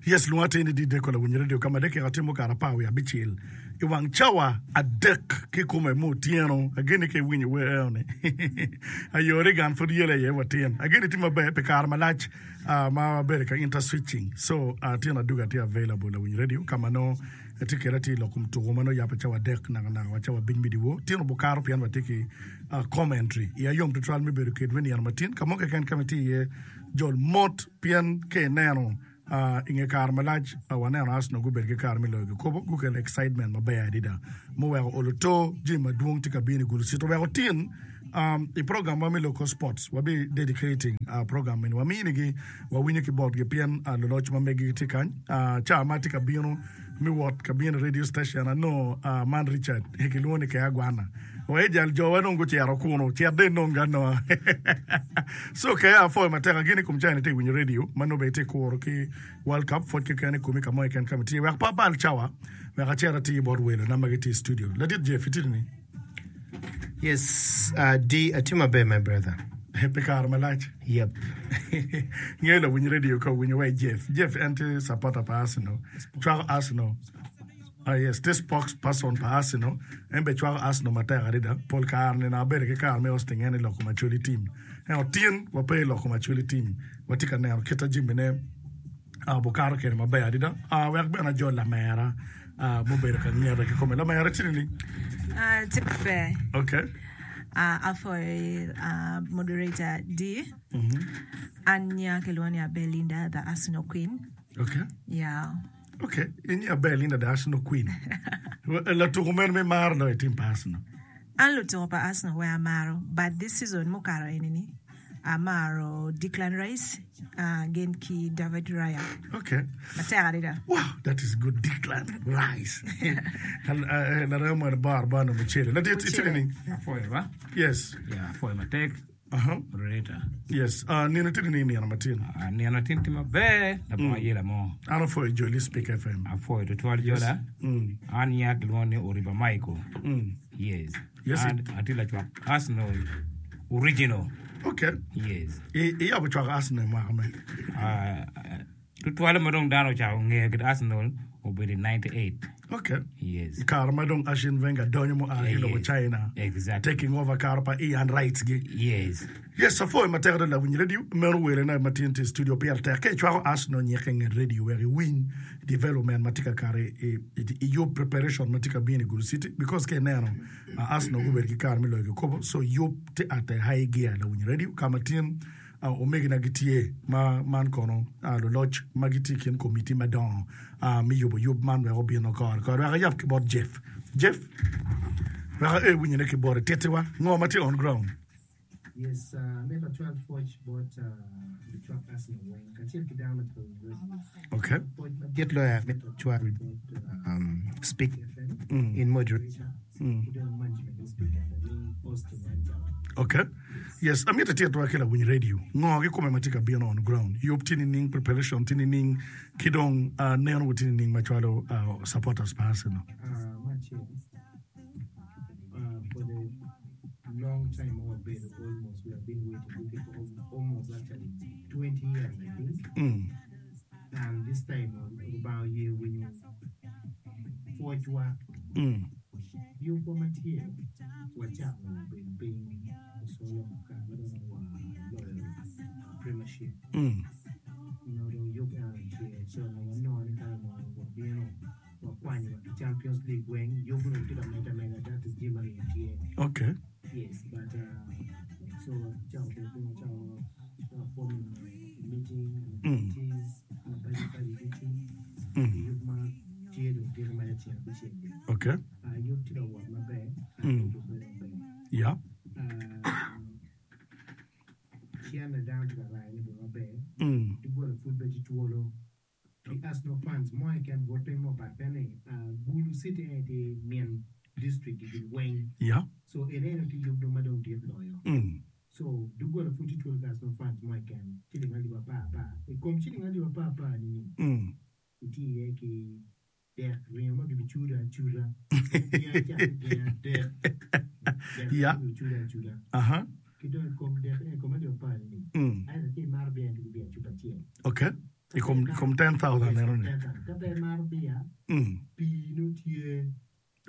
Yes, lwonga atir ni Dideko lawiny radio ka ma dakika tye mukato 17 i wang cawa adek kikome me otyeno. Ageni ka iwinyo wer eno ni ayo Reagan pud yelo iye watin. Ageni tye maber pi kare malac ah, ma wabedo ka interswitching. So ah, tyen aduga tye available lawiny radio ka ma nongo atye kede atye i lok kom tuko ma nongo yabo cawa adek naka naka wa cawa abic me dyewor. Tyen obukato pien watye ki ah, commentary. Iya yom tutwal me bedo kedwu i nino matin ka mo keken ka ma itye iye jol mot pien ka ineno I nge kare malac, waneno Arsenal gubedo ki kare me loyo kikopo. Gukelo excitement maber adada muweko olo to jami madwong tye ka bino i Gulu City. Oweko tin i program wa me Local Sports wabi dedicating program eni waminigi wawinyo ki botgi pien luloc ma megi gitye kany. Ca ma atye ka bino me wot ka bino i radio station anongo man Richard kilwongo ni Kea Gwana. Wa ejal jowa dong gucito kunu, cit dong inong anonga. So Kea apwoyo matek ageni i kom cawa ni itye ka winyo radio ma nongo bene itye ka kuro ki World Cup pwod keken i komi ka mo keken ka ma itye. Wek pe abal cawa wek acit atir bot welona ma gitye i studio. Ladit Jeff itye nining? Yes, uh, D, atye maber my brother. Pi kare malac. Yep. Ngeyo lawiny radio ka owinyo wa i Jeff. Jeff en tye supporter pa Arsenal. Cwako Arsenal. Ah, yes, tye spokesperson pa Arsenal. En bene cwako Arsenal matek adada. Pol kare nino abedo ki kare me hosting en i loko Macholi team. Ento tin wape i loko Macholi team. Watye ka neno kit ma jamine ah, bukato kwede maber adada. Ah, wek bene ajol lamera ah, mubedo ka ngete kikome. Lamera tye nining? Ah, tye maber. Okay. Ah, apwoyo ah, moderator D. An nya kilwongo ni Abelinda, the Arsenal Queen. Okay. Yeah. Ok, in i aber Linda the Arsenal Queen. Latuko mene ma imaro loyo i tim pa Arsenal? An lutuko pa Arsenal weng amaro but this season mukato eni ni amaro Declan Rice uh, gin ki David Raya. Ok. Matek adada. Wow, that is good. Declan Rice. Larema mwene bar bar no mucele. Ladit, itye nining? Apwoyo ba. Yes. Yeah, apwoyo matek. Aha. Moderator. Yes. Uh, nino tye nining nino matin? Uh, nino tin tye maber labongo mm. ayela mo. An apwoyo joli Speak FM. Apwoyo tutwal jola. Mm. An nya kilwongo ni Oriba Michael. Mm. Yes. Yes. An atye lacwak Arsenal original. Okay. Yes. I iyabo cwako Arsenal mwaka me? Uh, Tutwalle ma dong dano ocako ngeyo kit Arsenal obedo i 98. Ok. Yes. I kare ma dong Arsene Wenger donyo mua ki lobo Yes. China, Exactly. taking over kare pa Ian Wright gi. Yes. Yes, apwoyo matek adada lawiny radio. Meno welena ma tye i studio pire tek. Ka icwako Arsenal nyikke i nget radio wek iwiny development ma tye ka kato i, i, i yub preparation ma tye ka bino i Gulu City because ka ineno uh, Arsenal gubedo ki kare me loyo kikopo so yub tye at a high gear lawiny radio ka ma tin Omegina gitye ma man kono luloc ma gitye i kin komiti madongo me yubo yub man wek obino kore kore. Wek ayab ki bot Jeff. Jeff, wek ae winyone ki boti. Tittiwa ngo ma tye on ground. Yes, amito acwal pwoc bot lucwak Arsenal weng kacel ki dano ma tye ka winyo radio. Okay. Pwoc madit loyo amito acwal bot Speak FM in moderator ki dong management me Speak FM ni hosting man cawa. Okay. Yes, amito ititwa ki lawiny radio ngo kikome ma tye ka bino on ground. Yub tye nining, preparation tye nining, ki dong uh, neno wu tye nining macwalo uh, supporters pa Arsenal. Uh, me acel, uh, for the long time ma wabedo almost we have been waiting looking for almost actually 20 years I think. Mm. And this time Lubanga oye winyo pwocwa. Mm. Yubwa ma tye wacako bedo piny osolo kare ma dong waloyo premiership. Onongo dong yub eno tye ci onongo wanongo ni ka onongo wabino wakwanyo wa ki Champions League weng yub onongo tye ka medde ameda that is jami ma tye. Okay. Yes, but uh, so wacako bedo piny wacako uh, forming meeting and committees mapadi padi ducu. Yub ma tye dong tye ka maco ceng abicel-li. Okay. Uh, yub tye ka wot maber, uh, yub obedo maber. Yeah. Uh, cene dano tye ka rayone bene maber. Mm. Doggola pud bene tye twolo. Pi Arsenal fans mo keken but piny mo pat pe ni uh, Gulu City en aye tye min district gi gin weng. Yeah. So en aye tye yub dong ma dong dit loyo. Mm. So doggola pud tye twolo pi Arsenal fans mo keken ciling alip apar apar. I kom ciling alip apar apar ni ni Mm. itye iye ki dek ringo ma gibicudo acuda. Gin acako gin adek. Dek Yeah. ma gibicudo acuda. Aha. Ki dong i kom dek i kom alip apar ni Mm. either ka imato beer to ki beer cupa acel. Okay. I kom, kom 10,000 Yes, eno ni. 10,000. Ka pe imaro beer, Mm. pii nongo tye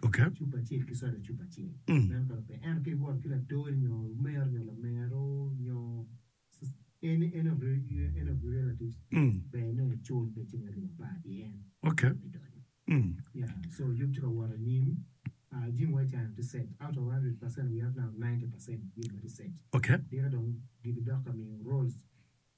Okay. cupa acel ki soda cupa acel. Mm. Meno kara pe. Ento ka iwoto ki latoni nyo omero nyo lamero nyo any, any of your, any of your relatives, Mm. ber nongo icul be ciling alip apar pi en. Okay. Me donyo. Mm. Yeah, so yub tye ka wot anyim. Uh, jami wa cano tye set. Out of 100% we have now 90% jami ma tye set. Okay. Diro dong gibidok ka miyo roles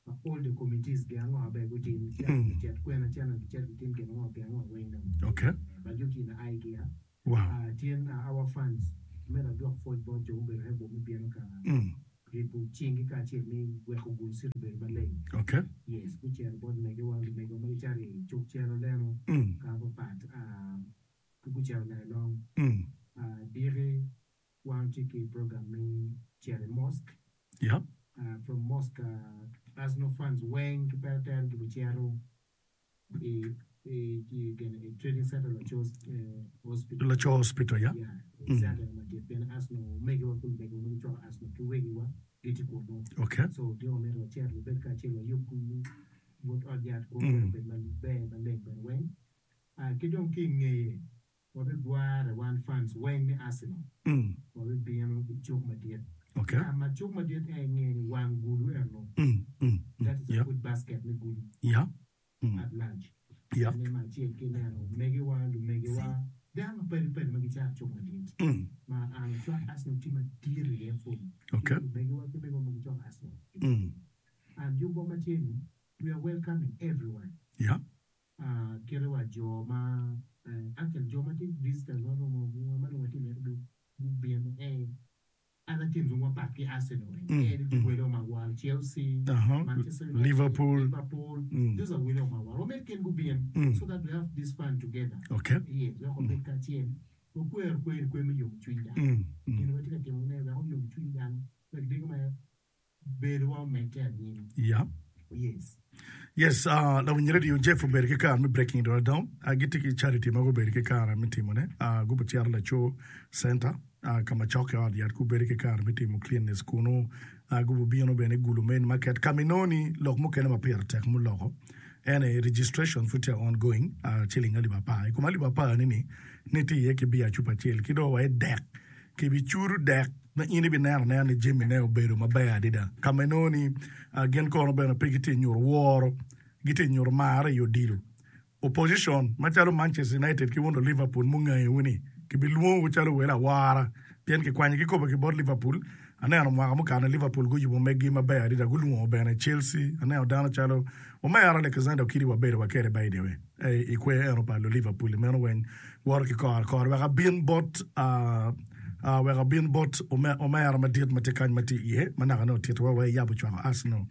pa all the committees gin ango ma ber gutim, Mm. gicit kwena cene gicit gitim gin ango gin ango weng dong. Okay. But yub tye in idea. Wow. Uh, tyen uh, our funds myero adwok pwoc bot jo mubedo rebel me bino ka Mm. ribo cinggi kacel me weko gul city obedo maleng. Okay. Yes, gucito bot megiwa, lumegiwa ma gicito i cuk cero leno Mm. ka mapat, uh, ki gucito Nailong. Mm. Uh, diki wan watye ki program me cito i mosque. Yeah. Uh, from mosque, uh, Arsenal fans weng ki pere tere gibicito i, i, i, gin, i trading center Laco eh, hospital. Laco hospital, yeah. Yeah, i Mm. center madit pien Arsenal omegiwa ki lumegiwa ma gicwako Arsenal ki wegiwa gitye kunu. Okay. So diki omyero wacit wabed kacel wayub kunu but ot yat kunu Mm. bene obed maber maleng bene weng. Uh, ki dong ki i ngeye wabigware wan fans weng me Arsenal Mm. wabibino i cuk madit. Okay. Ka ma cuk madit en inge ni wang gulu eno. Mm. Mm. Mm. That is a Yeah. food basket me gulu Yeah. Mm. at large. Yeah. Ane ma acel ki neno omegiwa, lumegiwa, dano mapadi padi ma gicato cuk madit. Mm. Ma an acwak Arsenal tye madit iye pud. Okay. Lumegiwa ki megiwa ma gicwako Arsenal. Mm. And yubwa ma tye ni, we are welcoming everyone. Yeah. Kite wa jo ma actually jo ma tye visitors ma romo ma dong watye mito gubino ee other teams ma pat ki Arsenal ee ni welo ma war Chelsea, Manchester United, Liverpool, Liverpool those are welo ma war wamito gin gubin so that we have this fun together. Okay. Yes, wek wabed kacel wakwer kwer kwer me yomo cwiny dano. Gin watye ka timone wek oyom cwiny dano wek diko ma bedowa omedde anyim. Yeah. Yes. Yes, uh, lawiny radio Jeff obedo ki kare me breaking it all down. Uh, gitye ki charity ma gubedo ki kare me timone. Uh, gubicito laco center uh, ka ma cokke ot yat gubedo ki kare me timo cleanness kunu. Uh, gubibino bene gulo main market ka ma inongo ni lok mukene ma pire tek muloko en aye registration pud tye ongoing uh, ciling alip apar. I kom alip apar ni ni ni tye iye ki biya cupa acel ki dong wa i dek Kibicudo dek ma in ibineno anena ni jamine obedo maber adada. Ka ma inongo ni gin kono bene pe gitye nyuto woro, gitye nyuto marre i odilo. Opposition macalo Manchester United ki wono Liverpool mungayowu ni kibilwongowu calo welo awara pien kikwanyo kikopo ki bot Liverpool. Aneno mwaka mukane Liverpool guyubo meggi maber adada gulwongo bene Chelsea. Aneno dano calo Omera Alexander Okidi wabedo wa kede by the way. I kwer eno pa Luliverpool meno weng woto ki kore kore wek abin bot wek abin bot omera madit ma tye kany ma tye iye ma naka nongo otito wa wa iyabo cwako Arsenal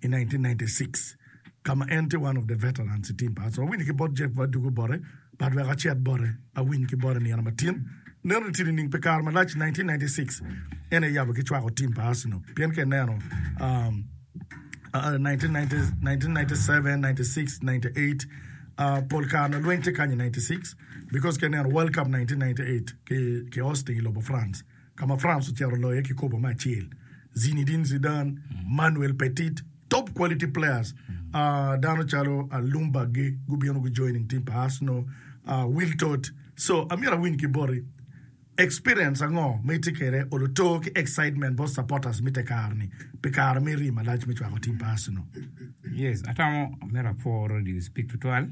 i 1996 ka ma en tye one of the veterans i team pa Arsenal. Awinyo ki bot Jeff adugo bote but wek acit bote awiny ki bote nino matin neno ni tye nining pi kare malac 1996 en aye iyabo ki cwako team pa Arsenal pien ka ineno um, 1997, 96, 98 pol kare nongo lweny tye kany i 96 because ka ineno World Cup 1998 ki ki hosting i lobo France ka ma France ocito oloyo iye kikopo me acel Zinedine Zidane, Manuel Petit top quality players dano calo Ljungberg gi gubino gu joining team pa Arsenal Wiltord so amyero awiny ki boti Experience ango ma itye kwede oluto ki excitement bot supporters me tekare ni pi kare me rii malac me cwako team pa Arsenal? Yes, atamo myero apwo Radio Speak tutwal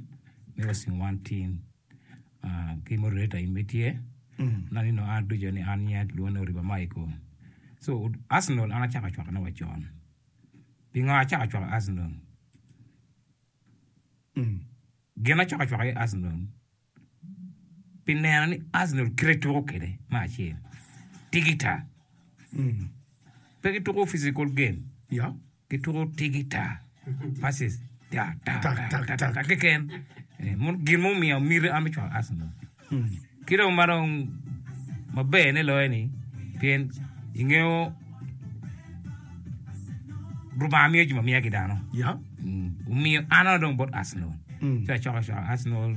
me hosting wan team uh, ki moderator in be tye na nino an ducu ni an nyinga kilwongo ni Oriba Michael. So Arsenal an acako cwakone wa con. Pingo acako cwako Arsenal? Gin acako cwako aye Arsenal pi neno ni Arsenal kite tuko kwede me acel tigita pe gituko physical game gituko tigita passes ta ta ta ta ta keken gin mumiyo miti an me cwako Arsenal ki dong ma dong maber ne loyo ni pien ingeyo Rubanga miyo jami amiya ki dano. Omiyo an dong bot Arsenal. Ci acoko acoko Arsenal.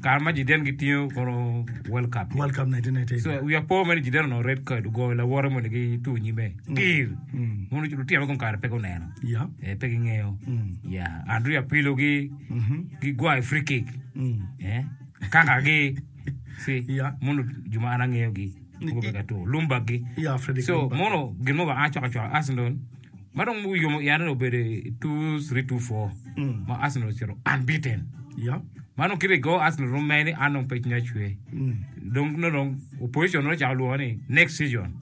Kare ma Jiden gitingo kono World Cup. World Cup 1998. So wiya po mere Jiden onongo red card ogoyo lawote moni ki tur nyime. Tir. Mono lutino me kom kare pe guneno. Yeah. Eh, pe gingeyo. Yeah. Andrea Pirlo gi gigwayo free kick. Eh, kaka gi. See, Yeah. mono jo ma an angeyogi. Gubedo ka tuko. Ljungberg gi. Yeah, Fredrik So Ljungberg. mono gin mo ba an acwako acwaka Arsenal. Ma dong oyomo iya ni obedo i 2324 ma Arsenal ocito unbeaten. Yeah. Ma dong kit i go Arsenal room mere ni an dong pe cwinya cwer. Dong nongo dong opposition nongo ocako lwongo ni next season.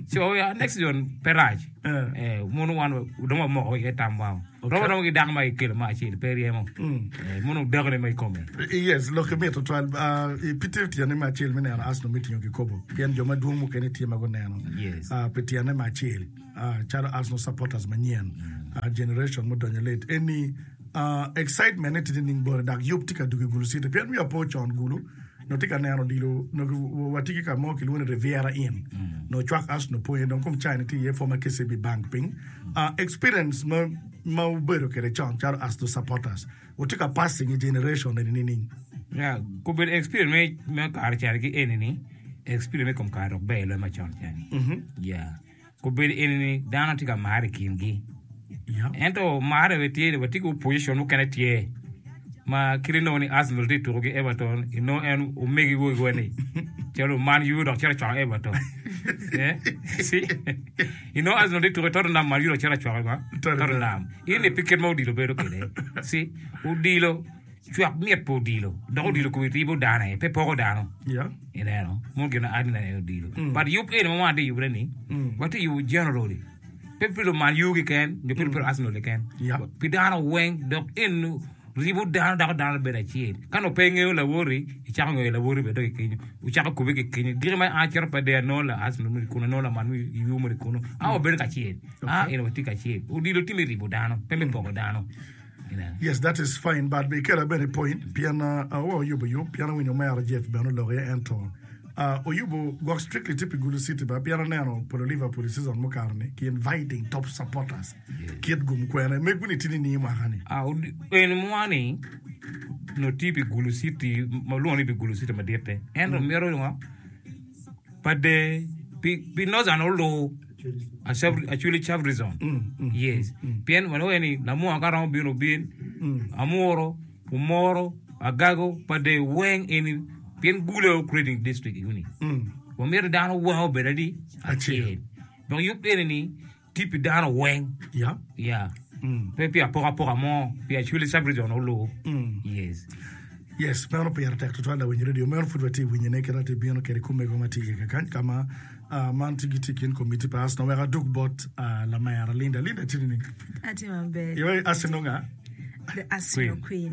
So ya next season pe rac. Eh. Eh, mono wan dong wamoko iye tamwa. Okay. Romo romo ki dako ma kikelo me acel pe ryemo. Eh, mono dakone ma i kome. Yes, lok mit tutwal. Uh, pi tye tyene me acel me neno Arsenal me tingo kikopo. Pien jo madwong mukene tye ma guneno. Yes. Uh, pi tyene me acel. Calo Arsenal supporters manyen, generation mudonyo late eni, excitement ne tye nining bote dok yub tye ka dugo i Gulu City pien wiya po con Gulu nongo tye ka neno odilo nongo watye ki ka mo kilwongo ni Riviera Inn nongo cwak Arsenal po iye dong kom cawa ni tye iye former KCB Bank piny. Experience ma ma wubedo kwede con calo Arsenal supporters wutye ka passing i generation eni nining? Ya, gubedo experience me me kare cani ki eni ni experience me kom kare dok ber loyo macon cani. Ya. Obedo eni ni dano tye ka mare i kingi. Ento mare bene tye ni watye ki opposition mukene tye ma kit inongo ni Arsenal tye ka tuko ki Everton inongo en omegi wogi ni calo Man U dok cito cwako Everton. See? Inongo Arsenal tye ka tuko ki Tottenham Man U dok cito cwako Tottenham. Eni pe kit ma odilo bedo kwede. See? Odilo Cwak mit pa odilo dok odilo kome ribo dano aye pe poko dano. Ineno? Mono gin ma adina aye odilo. But yub eni ma wan watye ka yubone ni, watye ka yubo generally. Pe pi luman U keken nyo pe pi Arsenal keken. Pi dano weng dok eni ribo dano dako dano bedo acel. Ka nongo pe ingeyo lawoti, icako ngeyo lawoti bene dok i kenyo. Wucako kubbe ki kenyo. Giki ma an acito pe dong anongo la Arsenal moni kunu, anongo laman U moni kunu. A wabedo kacel. A eni watye kacel. Odilo tye me ribo dano, pe me poko dano. Yes that is fine but be ikela bene i point pien wa oyubo yub pien awinyo omera Jeff bene oloko iye ento oyubo gwok strictly tye pi Gulu City ba pien aneno polo Liverpool i season mukato ni ki inviting top supporters kit gum kwene megwu ni tye nining mwaka ni? En mwa ni nongo tye pi Gulu City ma walwongo ni pi Gulu City maditte ento mito ngo Pade pi Northern olu Acholi Sub-region yes pien wanongo ni lamwongo ka romo bino obin Amuro, Omoro, Agago, Pade weng eni pien Gulu aye creating district eni wamito dano weng obed adi acel dok yub eni ni Tye pi dano weng. Yeah. Yeah. Pe pi apokapoka mo, pi Acholi sub-region olu. Yes. Yes, meno pire tek tutwal lawiny radio. Meno pud watye winyone kit atye bino kede kumego ma tye iye kakany ka ma ah, man tye gitye i kin komiti pa Arsenal. Wek adug bot ah, lamera Linda. Linda tye nining? Atye maber. Iwaci Arsenal nga? The Arsenal Queen.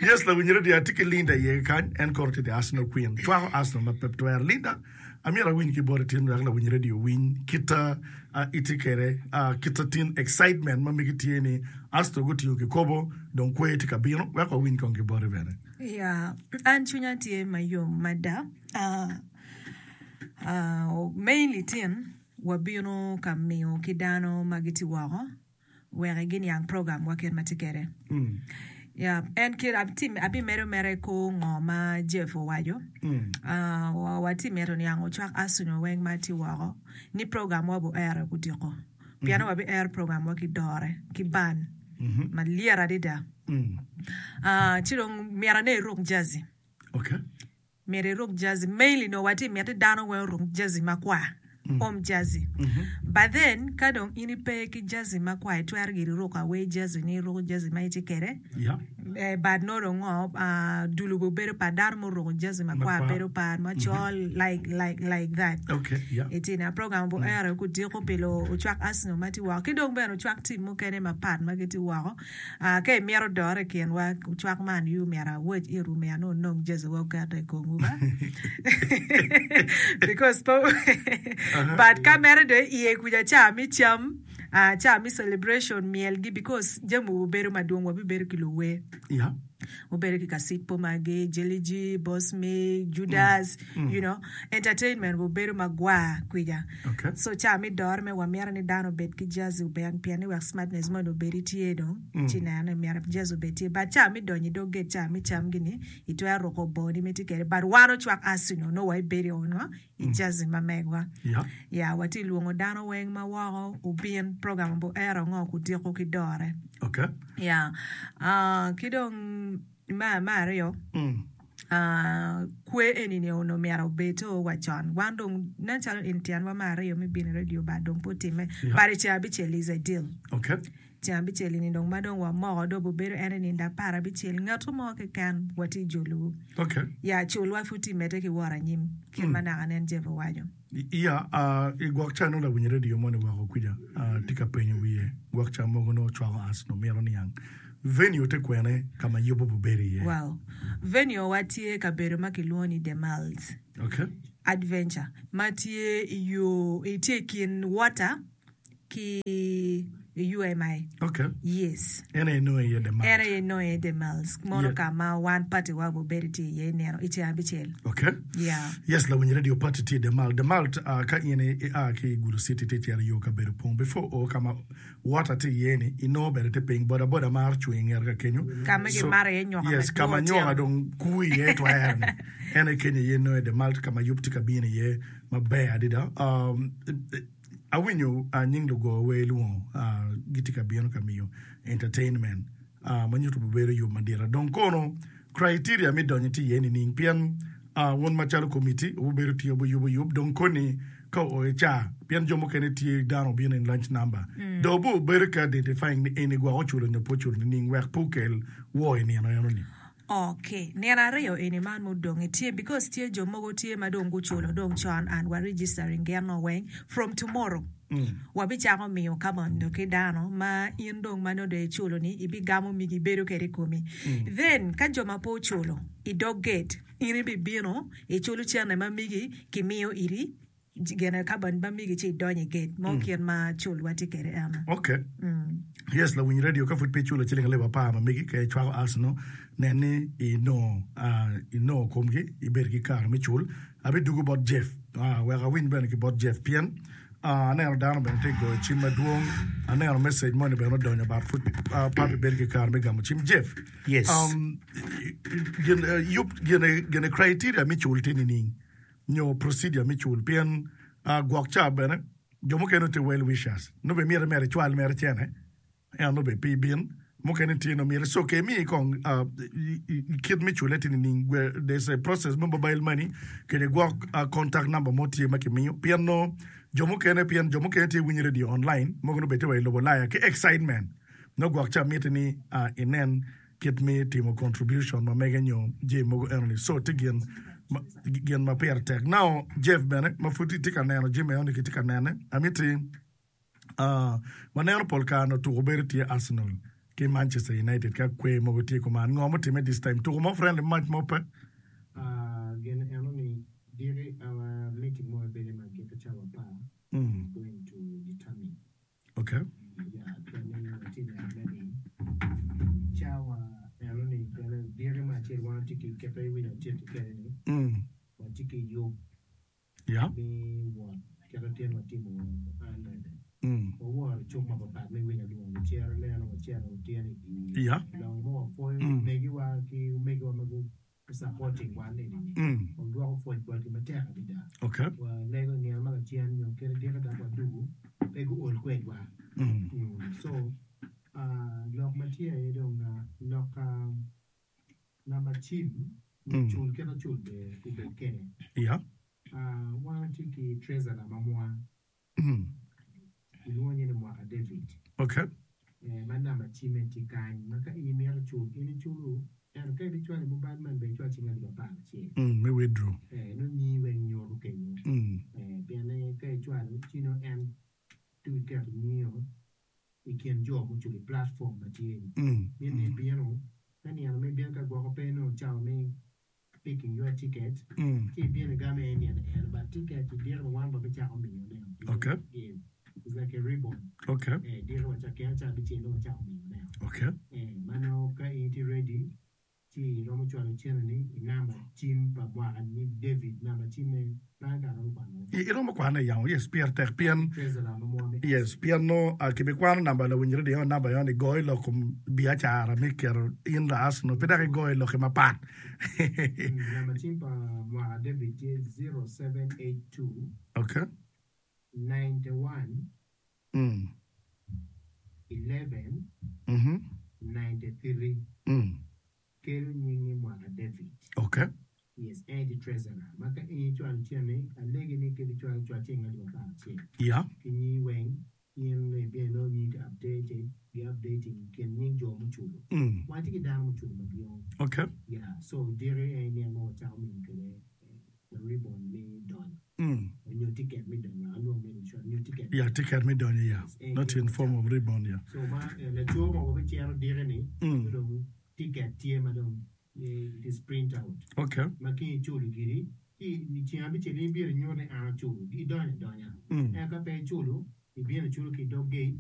Yes, lawiny radio atye ki Linda iye kakany. En kono tye the Arsenal Queen. Cwako Arsenal ma pe twero. Linda, Amyero awiny ki boti tin wek lawiny radio owiny kita itye kede kita tin excitement ma megi tye ni Arsenal gutingo kikopo dong kwer tye ka bino wek wawiny kong ki boti bene. Ya, an cwinya tye mayom mada. Mainly tin wabino ka miyo ki dano ma gitye woko wek giniang program wa kit ma tye kwede. Ya, en kit abimedo mere kor ngo ma Jeff owaco. Watye mito niango ocwak Arsenal weng ma tye woko ni program wa buero kudiko. Pien wabi ero program wa ki dore ki ban malyet adada. Ci dong myero ane iruk jersey. Okay. Myero iruk jersey. Mainly nongo watye miti dano weng oruk jersey makwar, home jersey. But then ka dong in ipe ki jersey makwar itwero giri ruko away jersey ni iruko jersey ma itye kwede. Yeah. Eh, but nongo dong ngo, ah, dul obedo bedo pat, dano muruko jersey makwar Makwar. bedo pat, macol like like like that. Okay, yeah. Itye na program bu ero kudiko pi lu ocwak Arsenal ma tye woko ki dong bene ocwak team mukene mapat ma gitye woko. Ka imito dore i kinwa, cwak man U myero awac itwu myero nongo wunong jersey wa wukete i komwu ba because pe but ka mere dong iye kuca ca me cam ca me celebration myelgi because jami wu bedo madwong wabibedo ki luwer. Yeah. Wubedo ki kacik magi, Jeliji, Bosmic, Judas, you know, entertainment wubedo magwar kwica. Okay. So ca me doro me wamito ni dano obed ki jersey obed pien ni wek smartness moni obed tye dong ci neno ni myero jersey obed tye but ca me donyo i dog gate ca me cam gini itwero ruko bongoni ma itye kwede but wan ocwak Arsenal nongo wa ibedo ongo i jersey ma megwa. Yeah. Ya watye lwongo dano weng ma woko obin program obo ero ngo kudiko ki dore. Okay. Ya. Ah, ki dong ma ma aryo ah, kwe eni ni onongo myero obed o wa con. Wan dong nen calo in tyenwa ma aryo me bino i radio ba dong pe otimme. Yeah. But i ceng abicel is a deal. Okay. Ceng abicel ni dong ma dong wamoko dong obedo en i nindo aparabicel ngat mo keken watye jolowu. Okay. Ya culwa pud tye medde ki wot anyim kit ma naka nen Jeff owaco. Iya, i gwok ca nongo lawiny redio moni woko kwija tye ka penyo wiye, gwok ca mogo nongo cwako us nongo mito niang venue te kwene ka ma yubo obedo iye. Well, venue wa tye kabedo ma kilwongo ni The Miles Okay. Adventure ma tye i yo, tye i kin water ki UMI. Okay. Yes. En aye nongo iye The Miles. En aye nongo iye The Miles. Mono Yeah. ka ma wan party wa obedo tye iye nino i ceng abicel. Okay. Yeah. Yes, lawiny radio party tye i The Mall. The Mall uh, ka in ia ki i Gulu City tye cito yo kabedo pong before o ka ma water tye iye ni inongo bene tye piny boda boda maro cung i ngete ka kenyo. Ka ma gimaro iye nyoka Yes, ka ma madwong nyoka otyeno. dong kuu iye twero ni. En aye kenyo iye nongo i The Mall ka ma yub tye ka bino iye maber adada. Um, Awinyo nying lugo wer lwongo gitye ka bino ka miyo entertainment ma nyuto obedo yub madit. Dong kono criteria me donyo tye iye nining? Pien wun macalo committee wubedo tye wuyubo yub dong koni ka oo i ca pien jo mukene tye dano obino in lunch number dong wubedo ka identifying ni eni gwok oculo nyo pe oculo nining wek pe okel war i nino eno ni. Ok, nino aryo eni man mudongi tye because tye jo mogo tye ma dong guculo dong con and wa registering gin o weng from tomorrow wabicako miyo kabondo ki dano ma in dong ma nongo dong iculo ni ibigamo migi ibedo kede ikomi then ka jo ma pe oculo i dog gate in ibibino iculo cene ma migi kimiyo iri Gine ka bene ma migi ci idonyo i gate mo kit ma culwa tye kwede eno. Ok. Yes, lawiny radio ka pud pe iculo ciling alip apar ma megi ka icwako Arsenal, nen ni inongo inongo komgi ibedo ki kare me cul. Abidugo bot Jeff wek awiny bene ki bot Jeff pien aneno dano bene tye goyo cim madwong, aneno message moni bene odonyo but pud pe abibedo ki kare me gamo cim. Jeff, Yes. gin yub gine criteria me cul tye nining? nyo procedure me cul pien gwok ca bene jo mukene tye well wishers nongo bene myero mere icwal mere cene ento nongo bene pe ibin mukene tye nongo myero so ke imiyi kong kit me cule tye nining there's a process me mobile money kede gwok contact number mo tye ma kimiyo pien nongo jo mukene pien jo mukene tye winyo radio online mogo nongo bene tye wa i lobo Ulaya ki excitement nongo gwok ca miti ni inen kit me timo contribution ma mege nyo jami mogo eno ni so tye gin gin ma pire tek. Now Jeff bene ma pud itye ka neno jami eno ni kitye ka nene amiti uh, waneno pol kare no tuko bedo tye Arsenal ki Manchester United ka kwer mogo tye kuman ngo mutime this time tuko mo friendly match mo pe? Uh, gin eno ni diki our meeting mo bedo ma giko cawa apar is going to determine Okay. Mm. Yeah. Mm. Yeah. Mm. pi supporting wan eni ni Mm. wadwoko pwoc botgi matek adada. Okay. Walego i nino ma lacen nyo kadi diki dok wadugu pe guol kwedwa. Mm. Mm. So ah, lok ma tye aye dong ah, lok ah, namba cim Mm. cul kit acul ber obed kede. Yeah. Ah, wan watye ki treasurer ma mwa Mm. Kilwongo nyinge ni Mwaka David. Okay. Eh, ma namba cimme tye kany ma ka in imito cul, in iculu, ento ka ibicwalo i mobile money bene icwal ciling alip apar acel. Mm, me withdraw. Eh, nongo nyingi weng nyuto kenyo. Mm. Eh, pien ka icwalo ci nongo en tuki keto nyingi i kin jo muculo i platform ma tye-ni. Mm. Mito ni ibino, ka nino ma ibino ka gwoko pe nongo cawa me picking your ticket ci ibino igamo iye nino eno but ticket idiro wan wabicako miyo ne Okay. It's like a ribbon. Okay. Eh, diro wacako kene ca abicel nongo wacako miyo ne Okay. Eh, mano ka in itye ready. Ci iromo cwalo cente-ni i namba cim pa mwaka ni David, namba cimme pe anga romo kwanone. Iromo kwane yamo, yes, pire tek pien, Treasurer ma mwa me yes, pien nongo kibikwano namba lawiny radio namba eno ni goyo lok kom biacara me keto in la Arsenal pe dok igoyo lokke mapat. Namba cim pa mwaka David tye 0782 Okay. 91 Mm. 11 Mhm. 93 Mm. kelo nyingi mwaka David. Okay. Yes, en aye tye treasurer ma ka in icwalo cente alegi ni kit icwalo cwal ceng alip 11 Yeah. ki nyingi weng in ibino inongo nyingi tye updated gi updating kin nying jo muculo. Mm. Wan tye ki dano muculo madwong. Okay. Yeah, so diki en nino ma wacako miyo kwede ribbon me donyo. Mm. Nyo ticket me donyo, alwongo me insurance, nyo ticket. Yeah, ticket me donyo, yeah. Not in form of ribbon, yeah. So ma laco ma wabicito diki ni, Mm. dong ticket tye ma dong it is print out. Okay. Ma ka iculo giri, ci i ceng abicel in ibino inyuto ni an aculo, idonyo adonya. Mm. Ento ka pe iculo, ibino iculo ki i dog gate.